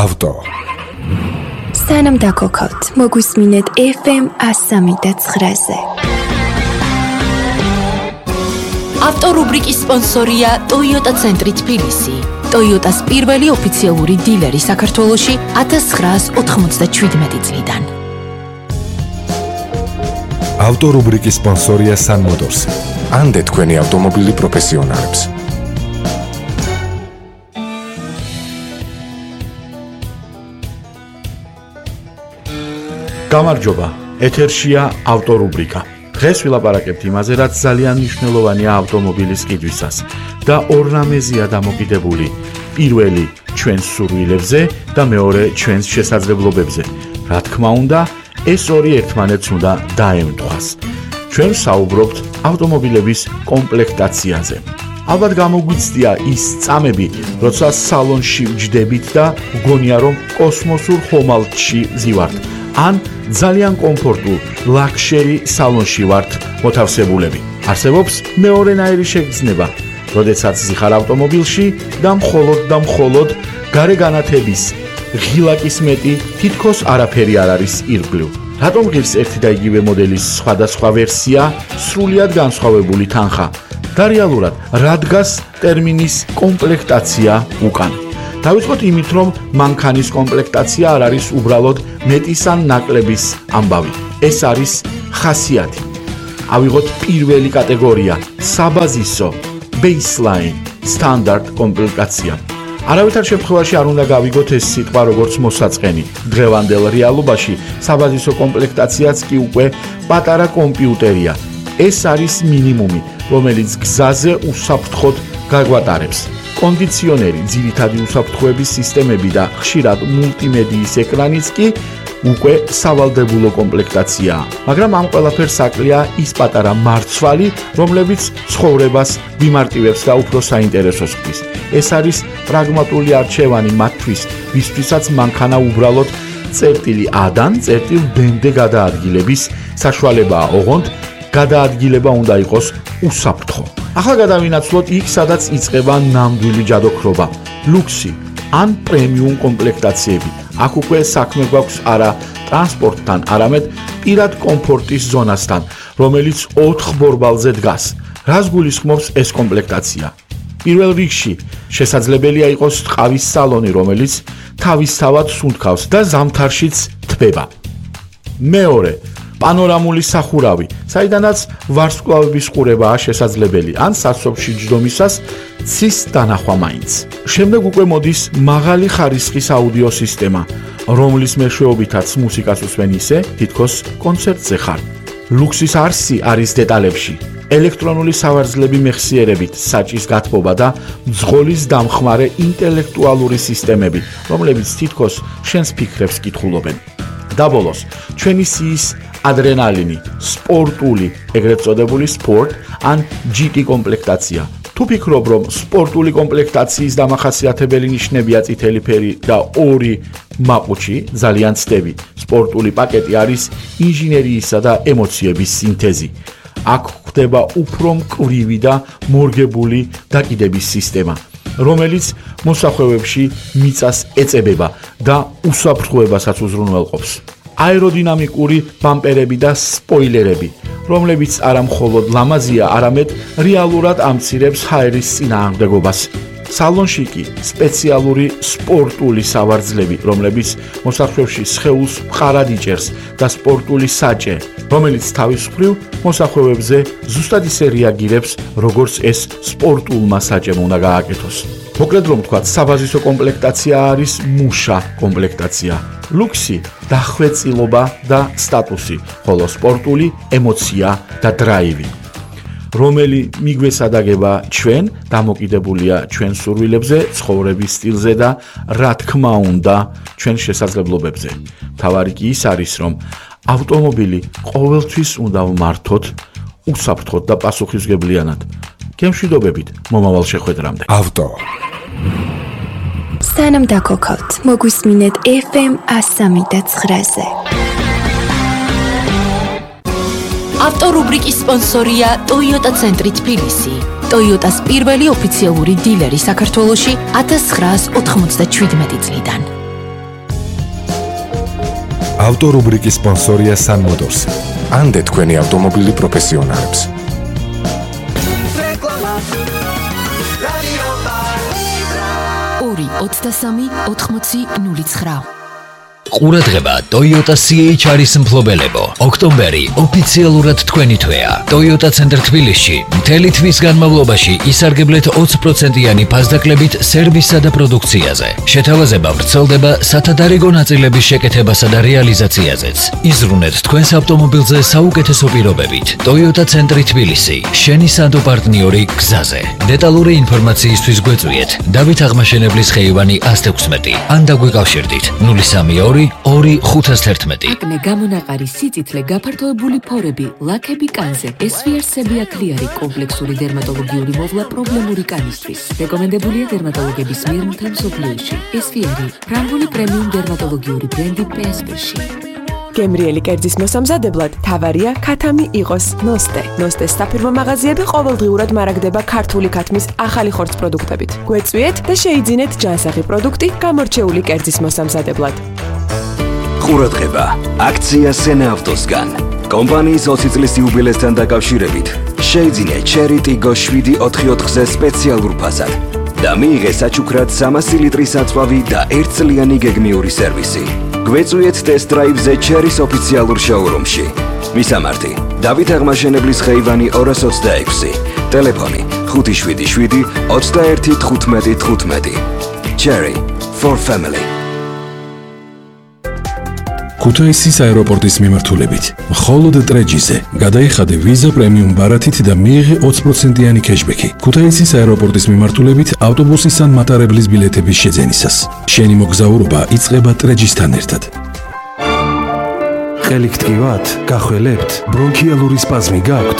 ავტო. სანამ დაგოქავთ, მოგვისმინეთ FM 103.9-ზე. ავტორუბრიკის სპონსორია Toyota ცენტრი თბილისი. Toyota-ს პირველი ოფიციალური დილერი საქართველოში 1997 წლიდან. ავტორუბრიკის სპონსორია Sun Motors. ანდე თქვენი ავტომობილი პროფესიონალებს. გამარჯობა, ეთერშია ავტორუბრიკა. დღეს ვილაპარაკებთ იმაზე, რაც ძალიან მნიშვნელოვანია ავტომობილის ყიდვისას და ორნამეზია დამოკიდებული. პირველი ჩვენს სურვილებზე და მეორე ჩვენს შესაძლებლობებზე. რა თქმა უნდა, ეს ორი ერთმანეთს უნდა დაემთხვას. ჩვენ საუბრობთ ავტომობილების კომპლექტაციაზე. ალბათ გამოგვიცდია ის წამები, როცა სალონში ვჯდებით და ვგონია, რომ კოსმოსურ ხომალდში ვზივართ. ან ძალიან კომფორტულ ლაქშერი სალონში ვართ მოთავსებულები. არსებობს მეორენაირი შეგრძნება, როდესაც ზიხარ ავტომობილში და მხოლოდ გარე განათების ღილაკის მეტი თითქოს არაფერი არ არის ირგვლივ. რატომ ღირს ერთი და იგივე მოდელის სხვადასხვა ვერსია სრულიად განსხვავებული თანხა და რეალურად რა დგას ტერმინის კომპლექტაცია უკან? დავიწყოთ იმით, რომ მანქანის კომპლექტაცია არ არის უბრალოდ მეტის ან ნაკლების ამბავი. ეს არის ხასიათი. ავიღოთ პირველი კატეგორია, საბაზისო, baseline, სტანდარტ კომპლექტაცია. არავითარ შემთხვევაში არ უნდა გავიგოთ ეს სიტყვა როგორც მოსაწყენი. დღევანდელ რეალობაში საბაზისო კომპლექტაციაც კი უკვე პატარა კომპიუტერია. ეს არის მინიმუმი, რომელიც გზაზე უსაფრთხოდ გაგვატარებს. კონდიციონერი, ძირითადი უსაფრთხოების სისტემები და ხშირად მულტიმედიის ეკრანიც კი უკვე სავალდებულო კომპლექტაციაა. მაგრამ ამ ყველაფერს აკლია ის პატარა მარცვალი, რომლებიც ცხოვრებას გვიმარტივებს და უფრო საინტერესოს ხდის. ეს არის პრაგმატული არჩევანი მათთვის, ვისთვისაც მანქანა უბრალოდ წერტილი A-დან წერტილ B-მდე გადაადგილების საშუალებაა, ოღონდ გადაადგილება უნდა იყოს უსაფრთხო. ახლა გადავინაცვლოთ იქ, სადაც იწყება ნამდვილი ჯადოქრობა, ლუქსი ან პრემიუმ კომპლექტაციები. აქ უკვე საქმე გვაქვს არა ტრანსპორტთან, არამედ პირად კომფორტის ზონასთან, რომელიც 4 ბორბალზე დგას. რას გულისხმობს ეს კომპლექტაცია? პირველ რიგში შესაძლებელია იყოს ტყავის სალონი, რომელიც თავისთავად სუნთქავს და ზამთარშიც თბება. მეორე, პანორამული სახურავი, საიდანაც ვარსკვლავების ყურებაა შესაძლებელი, ან სასოფში ჯდომისას ცის დანახვა მაინც. შემდეგ უკვე მოდის მაღალი ხარისხის აუდიო სისტემა, რომლის მეშვეობითაც მუსიკას უსმენ ისე, თითქოს კონცერტზე ხარ. ლუქსის არსი არის დეტალებში. ელექტრონული სავარძლები მეხსიერებით, საჭის გათბობა და მძღოლის დამხმარე ინტელექტუალური სისტემები, რომლებიც თითქოს შენს ფიქრებს კითხულობენ. და ბოლოს, ჩვენი სიის ადრენალინი, სპორტული, ეგრეთ წოდებული სპორტ ან GT კომპლექტაცია. თუ ფიქრობ, რომ სპორტული კომპლექტაციის დამახასიათებელი ნიშნებია წითელი ფერი და 2 მაყუჩი, ძალიან ცდები. სპორტული პაკეტი არის ინჟინერიისა და ემოციების სინთეზი. აქ ხდება უფრო მკვრივი და მორგებული დაკიდების სისტემა, რომელიც მოსახვევებში მიწას ეწებება და უსაფრთხოებასაც უზრუნველყოფს. აეროდინამიკური ბამპერები და სპოილერები, რომლებიც არა მხოლოდ ლამაზია, არამედ რეალურად ამცირებს ჰაერის წინააღმდეგობას. სალონში კი სპეციალური სპორტული სავარძლები, რომლებიც მოსახვევში სხეულს მყარად იჭერს და სპორტული საჭე, რომელიც თავის მხრივ მოსახვევებზე ზუსტად ისე რეაგირებს, როგორც ეს სპორტულმა საჭემ უნდა გააკეთოს. მოკლედ რომ ვთქვათ, საბაზისო კომპლექტაცია არის მუშა კომპლექტაცია. ლუქსი, დახვეწილობა და სტატუსი, ხოლო სპორტული ემოცია და დრაივი. რომელი მიგვესადაგება ჩვენ, დამოკიდებულია ჩვენ სურვილებზე, ცხოვრების სტილზე და რა თქმა უნდა, ჩვენ შესაძლებლობებზე. მთავარი კი ის არის, რომ ავტომობილი ყოველთვის უნდა ვმართოთ უსაფრთხოდ და პასუხისმგებლიანად. გემშვიდობებით, მომავალ შეხვედრამდე. ავტო. სანამ დაგოქავთ, მოგვისმინეთ FM 103.9-ზე. ავტორუბრიკის სპონსორია Toyota ცენტრი თბილისი. Toyota-ს პირველი ოფიციალური დილერი საქართველოში 1997 წლიდან. ავტორუბრიკის სპონსორია Sun Motors. ანდე თქვენი ავტომობილი პროფესიონალებს. 2-23-80-09. ყურადღება Toyota CHR-ის მფლობელებო. ოქტომბერი ოფიციალურად თქვენი თვეა. Toyota Center თბილისში მთელი თვის განმავლობაში ისარგებლეთ 20%-იანი ფასდაკლებით სერვისსა და პროდუქციაზე. შეთავაზება ვრცელდება სათადარიგო ნაწილების შეკეთებასა და რეალიზაციაზეც. იზრუნეთ თქვენს ავტომობილზე საუკეთესო პირობებით. Toyota Center თბილისი, შენი სანდო პარტნიორი გზაზე. დეტალური ინფორმაციისთვის გვეწვიეთ დავით აღმაშენებლის ხეივანი 116 ან დაგვიკავშირდით 032 2-511. აკნე გამონაყარი სიწითლე გაფართოებული ფორები, ლაქები კანზე, SVR-სები აკლიარი კომპლექსური დერმატოლოგიური მოვლა პრობლემური კანისთვის. რეკომენდებულია დერმატოლოგების მიერ მთელ მსოფლიოში. SVR-ი ფრანგული პრემიუმ დერმატოლოგიური ბრენდი PSP-ში. გემრიელი კერძის მოსამზადებლად თავარია ქათამი იყოს ნოსტე. ნოსტეს საფირმო მაღაზიები ყოველდღიურად მარაგდება ქართული ქათმის ახალი ხორცს პროდუქტებით. გვეწვიეთ და შეიძინეთ ჯანსაღი პროდუქტი გამორჩეული კერძის მოსამზადებლად. ყურადღება, აქცია სენა ავტოსგან. კომპანიის 20 წლის იუბილესთან დაკავშირებით შეიძინე Cherry Tiggo 7-4-4-ზე სპეციალურ ფასად და მიიღე საჩუქრად 300 ლიტრის საწვავი და 1 წლიანი გეგმიური სერვისი. გვეწვიეთ test drive-ზე Cherry-ის ოფიციალურ შოურუმში. მისამართი: დავით აღმაშენებლის ხეივანი 226, ტელეფონი 577 21 15 15. Cherry for family. ქუთაისის აეროპორტის მიმართულებით მხოლოდ ტრეჯიზე გადაიხადე ვიზა პრემიუმ ბარათით და მიიღე 20%-იანი кэშბექი. ქუთაისის აეროპორტის მიმართულებით ავტობუსის ან მატარებლის ბილეთების შეძენისას. შენი მოგზაურობა იწყება ტრეჯისთან ერთად. ყელი გტკივათ, გახველებთ, ბრონქიალური სპაზმი გაქვთ?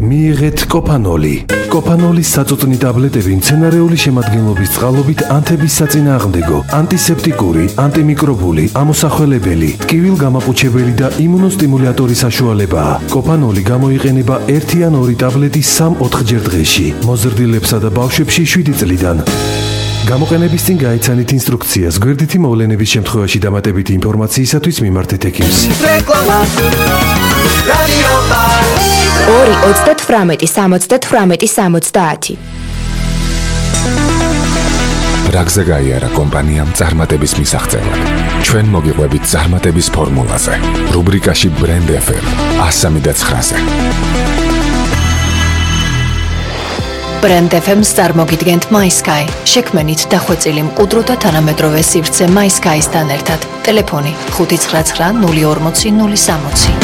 მიიღეთ კოპანოლი. კოპანოლის საწუწნი ტაბლეტები მცენარეული შემადგენლობის წყალობით ანთების საწინააღმდეგო, ანტისეპტიკური, ანტიმიკრობული, ამოსახველებელი, ტკივილგამაყუჩებელი და იმუნოსტიმულატორი საშუალებაა. კოპანოლი გამოიყენება 1 ან 2 ტაბლეტი 3-4 ჯერ დღეში. მოზრდილებსა და ბავშვებში 7 წლიდან. გამოყენების წინ გაიცანით ინსტრუქციას. გვერდითი მოვლენების შემთხვევაში დამატებითი ინფორმაციისათვის მიმართეთ ექიმს. 2-38-70-70. რაგზე გაიარა კომპანიამ წარმატების მისაღწევად. ჩვენ მოგიყვებით წარმატების ფორმულაზე. რუბრიკაში Brand FM 103-ზე. Brand FM-ს წარმოგიდგენთ MySky. შექმენით დახვეწილი მყუდრო და თანამედროვე სივრცე MySky-სთან ერთად. ტელეფონი 599 040 060.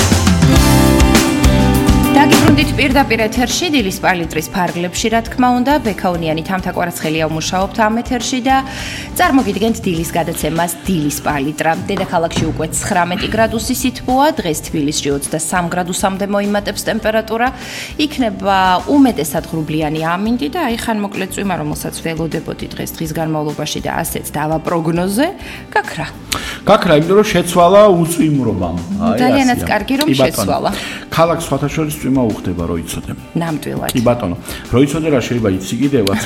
დაგიბრუნდით პირდაპირ ეთერში დილის პალიტრის ფარგლებში, რა თქმა უნდა, ბექაუნიანი თამთაკვარაცხელია ვმუშაობთ ამ ეთერში და წარმოგიდგენთ დილის გადაცემას დილის პალიტრა. დედაქალაქში უკვე 19 გრადუსი სითბოა, დღეს თბილისში 23 გრადუსამდე მოიმატებს ტემპერატურა. იქნება უმეტესად ღრუბლიანი ამინდი და აი ხან მოკლედ წვიმა, რომელსაც ველოდებოდი დღის განმავლობაში და ასეც დავა პროგნოზე, გაქრა. გაქრა, იმიტომ რომ შეცვალა უწვიმრობამ. ძალიანაც კარგი რომ შეცვალა. ქალაქ სხვათა შორის წვიმა უხდება, რო იცოდე. ნამდვილად. კი ბატონო, რო იცოდე რა შეიძლება იცი კიდევაც,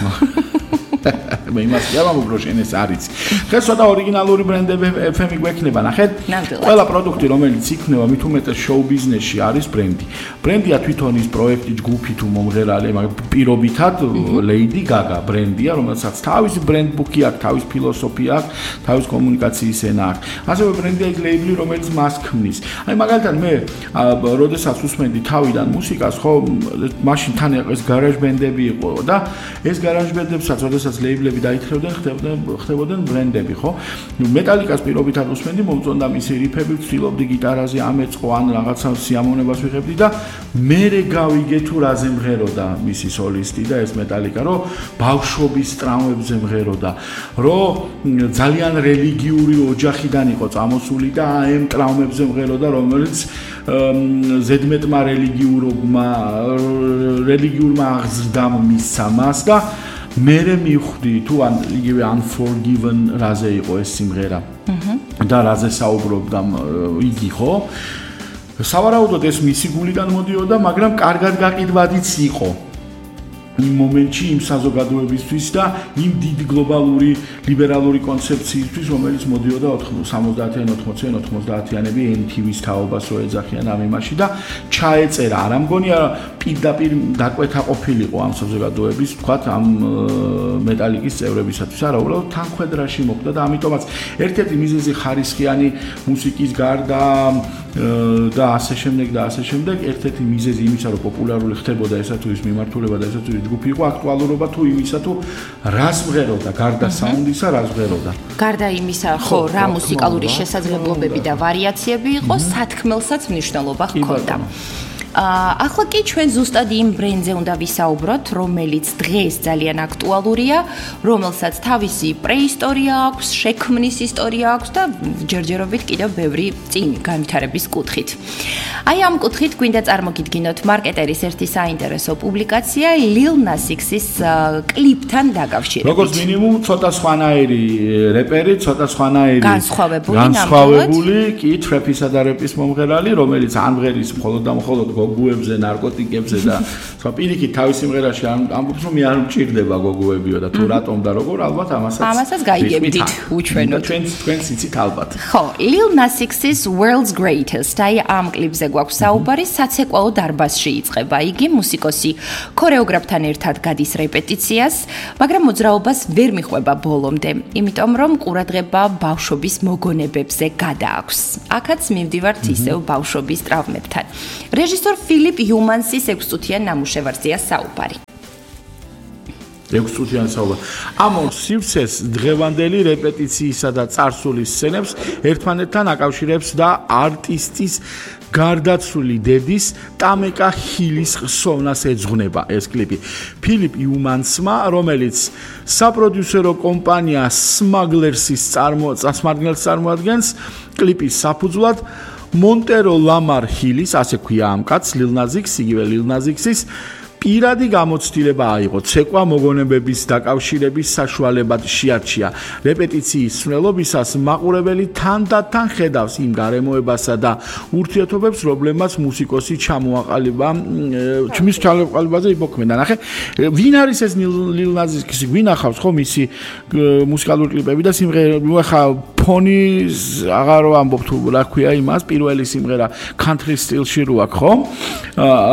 მე იმას ვამბობ, რომ შენ ეს არის. დღეს ცოტა ორიგინალური ბრენდები FM-ი გვექნება, ნახეთ. ყველა პროდუქტი, რომელიც იქნება, მით უმეტეს შოუ ბიზნესში არის ბრენდი. ბრენდია თვითონ ის პროექტი, ჯგუფი თუ მომღერალი, მაგრამ პირობითად Lady Gaga ბრენდია, რომელსაც თავისი ბრენდბუქი აქვს, თავისი ფილოსოფია აქვს, თავისი კომუნიკაციის ენა აქვს. ასევე ბრენდია ის ლეიბლი, რომელიც მას ქმნის. აი მაგალითად მე, როდესაც უსმენდი თავიდან მუსიკას, ხო, მაშინ თან ეს გარაჟ ბენდები იყო და ეს გარაჟ ბენდებსაც, როდესაც ლეიბლები დაითხრებდნენ, ხდებოდნენ ბრენდები, ხო? მეტალიკას პირობითად უსმენდი, მომწონდა მისი რიფები, ვცდილობდი გიტარაზე ამეწყო ან რაღაცა სიამოვნებას ვიღებდი და მერე გავიგე თუ რაზე მღეროდა მისი სოლისტი და ეს მეტალიკა, რომ ბავშვობის ტრაუმებზე მღეროდა, რომ ძალიან რელიგიური ოჯახიდან იყო წამოსული და ამ ტრაუმებზე მღეროდა, რომელიც ზედმეტმა რელიგიურმა აღზრდამ მისცა მას და მერე მივხვდი თუ ან იგივე Unforgiven რაზე იყო ეს სიმღერა და რაზე საუბრობდა იგი, ხო? სავარაუდოდ ეს მისი გულიდან მოდიოდა, მაგრამ კარგად გაყიდვადიც იყო. იმ მომენტში იმ საზოგადოებისთვის და იმ დიდი გლობალური ლიბერალური კონცეფციისთვის, რომელიც მოდიოდა 70-იან, 80-იან, 90-იანები NTV-ს თაობას რო ეძახიან ამ იმაში და ჩაეწერა. არა მგონია პირდაპირ დაკვეთა ყოფილიყო ამ საზოგადოების, თქვათ, ამ მეტალიკის წევრებისათვის. არა, უბრალოდ თანხმედრაში მოხდა და ამიტომაც ერთ-ერთი მიზეზი ხარისხიანი მუსიკის გარდა და ასე შემდეგ, ერთ-ერთი მიზეზი იმისა, რომ პოპულარული ხდებოდა ესა თუ ის მიმართულება და ესა თუ ის ჯგუფი იყო, აქტუალურობა თუ იმისა თუ რას მღეროდა, გარდა საუნდისა, რას მღეროდა. გარდა იმისა, ხო, რა მუსიკალური შესაძლებლობები და ვარიაციები იყო, სათქმელსაც მნიშვნელობა ჰქონდა. ახლა კი ჩვენ ზუსტად იმ ბრენდზე უნდა ვისაუბროთ, რომელიც დღეს ძალიან აქტუალურია, რომელსაც თავისი პრეისტორია აქვს, შექმნის ისტორია აქვს და ჯერჯერობით კიდევ ბევრი წინ განვითარების კუთხით. აი ამ კუთხით გვინდა წარმოგიდგინოთ მარკეტერის ერთი საინტერესო პუბლიკაცია Lil Nas X-ის კლიპთან დაკავშირებით. როგორც მინიმუმ ცოტა სხვანაირი რეპერი, ცოტა სხვანაირი განსხვავებული კი თრეფისა და რეპის მომღერალი, რომელიც ამღერის მხოლოდ და მხოლოდ გოგუებზე, ნარკოტიკებზე და სხვა პირიქით თავის სიმღერაში ამბობს, რომ მე არ მჭირდება გოგუებიო და თუ რატომ და როგორ, ალბათ ამასაც გაიგებდით უჩვენოთ. თქვენ იცით ალბათ. ხო, Lil Nas X-ის World's Greatest, აი ამ კლიპზე გვაქვს საუბარი, საცეკვაო დარბაზში იწყება იგი, მუსიკოსი ქორეოგრაფთან ერთად გადის რეპეტიციას, მაგრამ მოძრაობას ვერ მიხვება ბოლომდე, იმიტომ რომ ყურადღება ბავშვობის მოგონებებზე გადააქვს. აქაც მივდივართ ისევ ბავშვობის ტრავმებთან. რეჟისორ ფილიპ იუმანსის 6 წუთიან ნამუშევარზეა საუბარი. 6 წუთიან საუბარი. ამ სივრცეს დღევანდელი რეპეტიციისა და წარსულის სცენებს ერთმანეთთან აკავშირებს და არტისტის გარდაცვლილი დედის ტამეკა ჰილის ხსოვნას ეძღვნება ეს კლიპი. ფილიპ იუმანსმა, რომელიც საპროდიუსერო კომპანია Smugglers-ის წარმოადგენს, კლიპის საფუძვლად მონტერო ლამარ ჰილის, ასე ქვია ამ კაცს, Lil Nas X, იგივე Lil Nas X-ის პირადი გამოცდილება აიღო, ცეკვა მოგონებების დაკავშირების საშუალებად შეარჩია. რეპეტიციის მსვლელობისას მაყურებელი თანდათან ხედავს იმ გარემოებასა და ურთიერთობებს, რომლებმაც მუსიკოსი ჩამოაყალიბა, მის ჩამოაყალიბაზე იბოქმედა. ნახე, ვინ არის ეს Lil Nas X? ვინ ახავს ხო მისი მუსიკალური კლიპები და სიმღერები? ხა ფონის აღარ ვამბობ თუ რა ქვია იმას, პირველი სიმღერა country style-ში რო აქვს, ხო?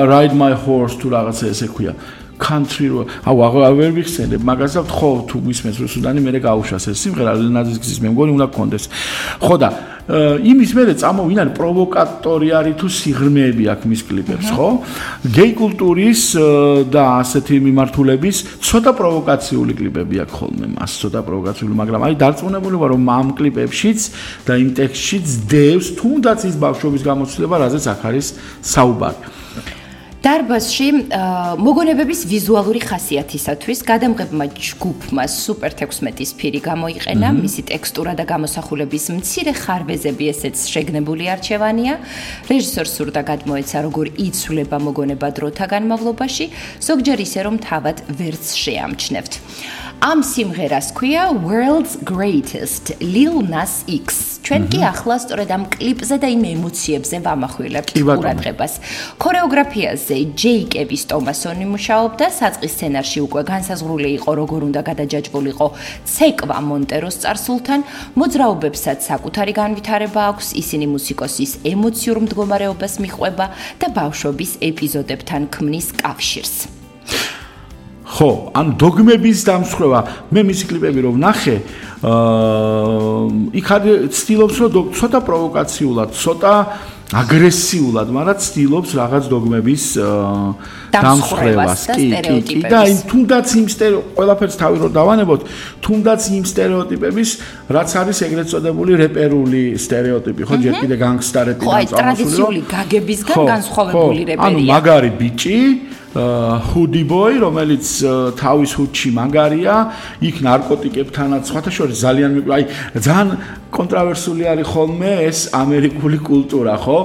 Ride My Horse თუ რაღაცა ესე ქვია. country რო, აღარ ვერ ვიხსენებ, მაგასაც ხო თუ მისმენს რუსუდანი მე გაუშვას ეს სიმღერა Lil Nas X-ის მე მგონი უნდა გქონდეს. ხო და იმის მერე წამოვინა პროვოკატორი არის თუ სიღრმეები აქვს მის კლიპებს, ხო? გეი კულტურის და ასეთი მიმართულების ცოტა პროვოკაციული კლიპები აქვს ხოლმე მას, ცოტა პროვოკაციული, მაგრამ აი დარწმუნებული ვარ რომ ამ კლიპებშიც და იმ ტექსტშიც დევს თუნდაც ის ბავშვობის გამოცდილება, რაზეც აქ არის საუბარი. დარბაზში მოგონებების ვიზუალური ხასიათისათვის გადამღებმა ჯგუფმა Super 16-ის ფირი გამოიყენა, მისი ტექსტურა და გამოსახულების მცირე ხარვეზები ესეც შეგნებული არჩევანია. რეჟისორს სურდა გადმოეცა, როგორ იცვლება მოგონება დროთა განმავლობაში, ზოგჯერ ისე რომ თავად ვერც შეამჩნევთ. ამ სიმღერას ქვია World's Greatest, Lil Nas X. ჩვენ კი ახლა სწორედ ამ კლიპზე და იმ ემოციებზე ვამახვილებთ ყურადღებას. ქორეოგრაფიაზე ჯეიკევის ტომასონი მუშაობდა, საწყის სცენარში უკვე განსაზღვრული იყო, როგორ უნდა გადაჯაჭვულიყო ცეკვა მონტეროს წარსულთან, მოძრაობებსაც საკუთარი განვითარება აქვს, ისინი მუსიკოსის ემოციურ მდგომარეობას მიყვება და ბავშვობის ეპიზოდებთან ქმნის კავშირს. ხო, ან დოგმების დამსხვრევა, მე მისი კლიპები რომ ნახე, იქ ცდილობს რომ ცოტა პროვოკაციულად, ცოტა აგრესიულად, მაგრამ ცდილობს რაღაც დოგმების დამსხვრევას, კი, და თუნდაც იმ ყველაფერს თავი რომ დავანებოთ, თუნდაც იმ სტერეოტიპების, რაც არის ეგრეთ წოდებული რეპერული სტერეოტიპი, ხო, ჯერ კიდე განგსტა რეპი და ტრადიციული გაგებისგან განსხვავებული რეპერია. ანუ მაგარი ბიჭი Hoodie boy, რომელიც თავის ჰუდში მაგარია, იქ ნარკოტიკებთანაც სხვათა შორის ძალიან აი ძალიან კონტრავერსული არის ხოლმე ეს ამერიკული კულტურა, ხო?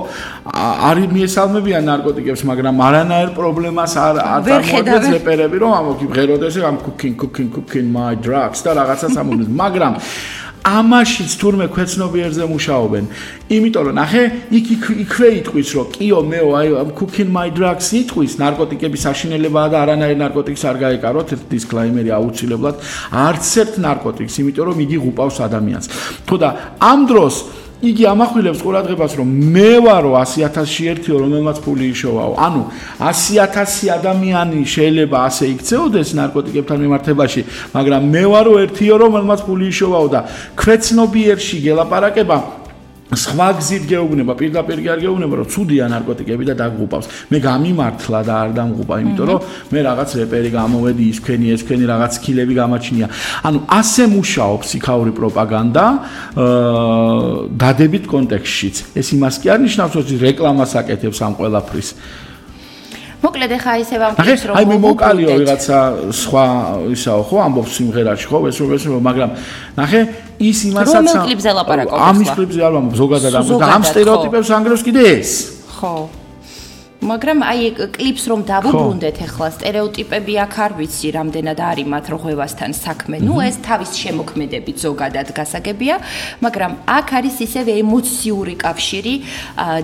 არის მიესალმებიან ნარკოტიკებს, მაგრამ არანაირ პრობლემას არ წარმოადგენს რეპერები, რომ ამოქი ღეროდეს ამ cooking my drugs და რაღაცას ამოგვიდგ, მაგრამ ამაშიც თურმე ქვეცნობიერზე მუშაობენ. იმიტომ რომ ნახე, იქვე იტყვის რომ კიო მეო აი cooking my drugs იტყვის ნარკოტიკების აშინელებაა და არანაირ ნარკოტიკს არ გაეკაროთ, ერთ დისკლეიმერი აუცილებლად, არც ერთ ნარკოტიკს, იმიტომ რომ იგი ღუპავს ადამიანს. თუ და ამ დროს იგი ამახვილებს ყურადღებას რომ მე ვარო 100,000-ში ერთიო რომელმაც ფული იშოვაო. ანუ 100,000 ადამიანი შეიძლება ასე იქცეოდეს ნარკოტიკებთან მიმართებაში, მაგრამ მე ვარო ერთიო რომელმაც ფული იშოვაო და ქვეცნობიერში გელაპარაკება სხვა გზით გეუბნება, პირდაპირ კი არ გეუბნება, რომ ცუდია ნარკოტიკები და დაგღუპავს. მე გამიმართლა და არ დამღუპა, იმიტომ რომ მე რაღაც რეპერი გამოვედი, ის თქვენი რაღაც სკილები გამაჩნია. ანუ ასე მუშაობს იქაური პროპაგანდა დადებით კონტექსტშიც. ეს იმას კი არ ნიშნავს, რომ რეკლამას აკეთებს ამ ყველაფრის. მოკლედ ახლა ისე ვამბობთ რომ აი მე მოკალიო ვიღაცა სხვა ისაო ხო ამბობს სიმღერაში ხო ეს მაგრამ ნახე ის იმასაც რომელ კლიპზე ლაპარაკობთ ამის კლიპზე არ ვამბობ ზოგადად და ამ სტერეოტიპებს ანგრევს კიდე ეს ხო მაგრამ აი კლიპს რომ დავუბრუნდეთ ახლა სტერეოტიპები აქ არ ვიცი რამდენად არის მათ რღვევასთან საქმე ნუ ეს თავის შემოქმედებით ზოგადად გასაგებია მაგრამ აქ არის ისევ ემოციური კავშირი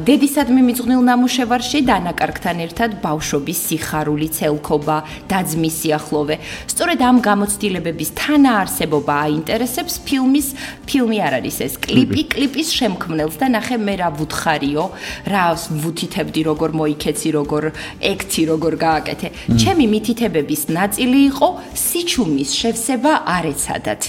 დედისადმი მიძღვნილ ნამუშევარში დანაკარგთან ერთად ბავშვობის სიხარული ცელქობა დაძმის სიახლოვე სწორედ ამ გამოცდილებების თანაარსებობა აინტერესებს ფილმი არ არის ეს კლიპის შემქმნელს და ნახე მე რა ვუთხარიო რა ვუთითებდი როგორ მოიქე როგორ ეკცი როგორ გააკეთე. ჩემი მითითებების ნაწილი იყო სიჩუმის შევსება არ ეცადათ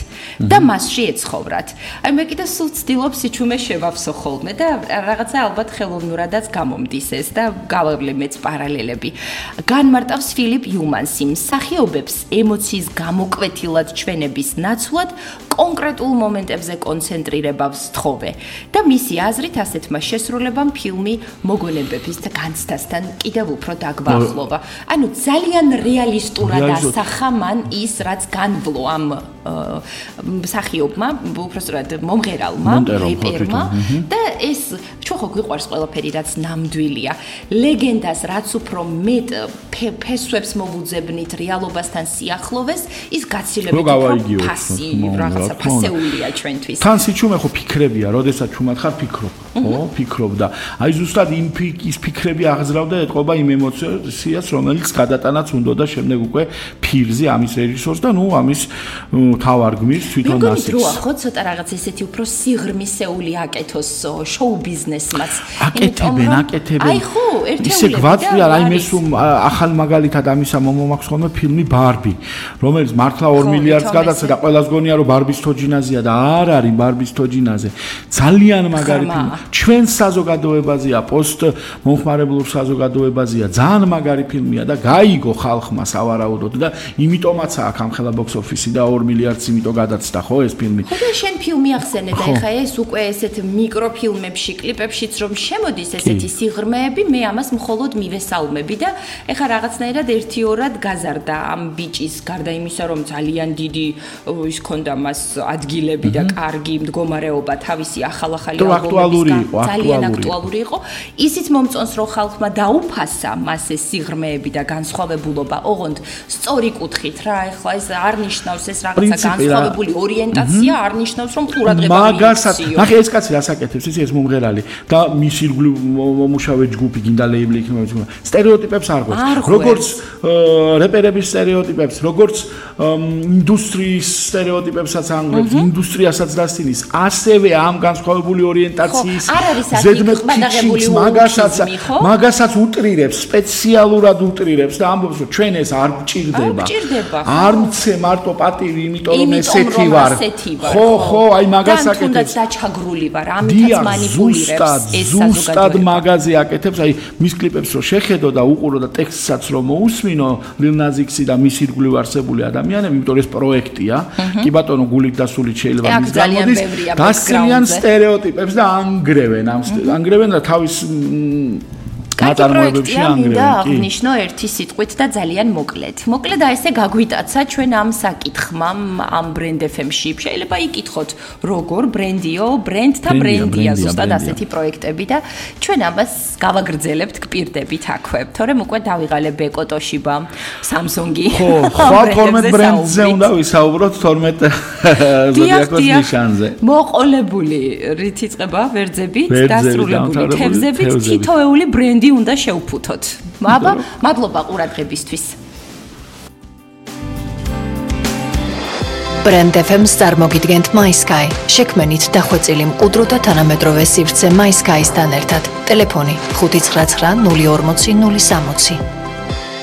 და მასში ეცხოვრათ. აი მე კიდე სულ ვცდილობ სიჩუმეს შევავსო ხოლმე და რაღაცა ალბათ ხელოვნურადაც გამომდის ეს და გავავლე მეც პარალელები. განმარტავს ფილიპ იუმანსი მსახიობებს ემოციის გამოკვეთილად ჩვენების ნაცვლად კონკრეტულ მომენტებზე კონცენტრირებას თხოვე და მისი აზრით ასეთმა შესრულებამ ფილმი მოგონებების და განცდასთან კიდევ უფრო დაგვაახლოვა. ანუ ძალიან რეალისტურად ასახა მან ის რაც განვლო ამ მსახიობმა, უბრალოდ მომღერალმა, რეპერმა და ეს ჩვენ ხო გვიყვარს ყველაფერი რაც ნამდვილია. ლეგენდას რაც უფრო მეტ ფესვებს მოვუძებნით რეალობასთან სიახლოვეს, ის გაცილებით უფრო ფასი რაღაცა ფასეულია ჩვენთვის. თან სიჩუმე ხო ფიქრებია, როდესაც ჩუმად ხარ ფიქრობ, ხო? ფიქრობ და აი ზუსტად ის ფიქრები აღზრავდა ეთყობა იმ ემოციას, რომელიც გადატანაც უნდა და შემდეგ უკვე ფირზე ამის რეჟისორს და ნუ ამის თავარ გმირს თვითონ ასეც. როგორ დროა ხო ცოტა რაღაც ესეთი უფრო სიღრმისეული აკეთოს შოუ ბიზნესმაც. აკეთებენ. აი ხო, ერთეულები. ისე გვაწვია აი მესუმ ახალ მაგალითად ამისა მომაქვს ხოლმე ფილმი ბარბი, რომელიც მართლა 2 მილიარდს გადაცა და ყველას გონია რომ ბარბის თოჯინაზია და არ არის ბარბის თოჯინაზე. ძალიან მაგარი ფილმი. ჩვენ საზოგადოებაზეა, პოსტ მომხმარებლურ საზოგადოებაზეა, ძალიან მაგარი ფილმია და გაიგო ხალხმა სავარაუდოდ და იმიტომაც აქვს ამ ხელა box office-ი და 2 მილიარდს იმიტომ გადაცდა ხო ეს ფილმი. ხო და შენ ფილმი ახსენე და ეხა ეს უკვე ესეთ მიკროფილმებში, კლიპებშიც რომ შემოდის ესეთი სიღრმეები, მე ამას მხოლოდ მივესალმები და ეხა რაღაცნაირად 1-2-რად გაზარდა ამ ბიჭის გარდა იმისა რომ ძალიან დიდი ის ქონდა მას ადგილები და კარგი მდგომარეობა თავისი ახალ-ახალი ალბომებისგან ძალიან აქტუალური იყო. ისიც მომწონს რომ ხალხმა დაუფასა მას ეს სიღრმეები და განსხვავებულობა. ოღონდ სწორი კუთხით რა ეხლა ეს არ ნიშნავს ეს რაღაცა განსხვავებული ორიენტაცია არ ნიშნავს რომ ყურადღება მაგასაც ნახე ეს კაცი რას აკეთებს ეს მომღერალი და მის ირგვლივ მომუშავე ჯგუფი გინდა ლეიბლი იქნება სტერეოტიპებს არ ღვევს როგორც რეპერების სტერეოტიპებს როგორც ინდუსტრიის სტერეოტიპებსაც ანგრევს ინდუსტრიასაც დასცინის ასევე ამ განსხვავებული ორიენტაციის ზედმეტ მაგასაც უტრირებს სპეციალურად უტრირებს და ამბობს რომ ჩვენ ეს არ გჭირდება არ მცე მარტო პატივი იმიტომ რომ ესეთი ვარ ხო აი მაგას აკეთებს თუნდაც დაჩაგრული ვარ ამითაც მანიპულირებს ეს ზუსტად მაგაზე აკეთებს აი მის კლიპებს რო შეხედო და უყურო და ტექსტსაც რო მოусმინო ლილ ნაზიქსი და მის ირგვლივ არსებული ადამიანები იმიტომ რომ ეს პროექტია კი ბატონო გულით და სულით შეიძლება მის გამოდის დასცინიან სტერეოტიპებს და ანგრევენ და თავის ნაწარმოებებში ანგრევენ. აღნიშნო ერთი სიტყვით და ძალიან მოკლედ. მოკლედ აი ესე გაგვიტაცა ჩვენ ამ საკითხმა ამ Brand FM-ში. შეიძლება იკითხოთ როგორ ბრენდიო, ბრენდთა ბრენდია ზუსტად ასეთი პროექტები და ჩვენ ამას გავაგრძელებთ, გპირდებით აქვე. თორემ უკვე დავიღალე ბეკო ტოშიბა, Samsung-ი. ხო, 12 ბრენდზე უნდა ვისაუბროთ 12 ზოდიაკოს ნიშანზე. მოყოლებული რით იწყება ვერძებით, დასრულებული თევზებით, თითოეული ბრენდი უნდა შევფუთოთ. აბა, მადლობა ყურადღებისთვის. Brand FM-ს წარმოგიდგენთ MySky. შექმენით დახვეწილი მყუდრო და თანამედროვე სივრცე MySky-სთან ერთად. ტელეფონი 599 040 060.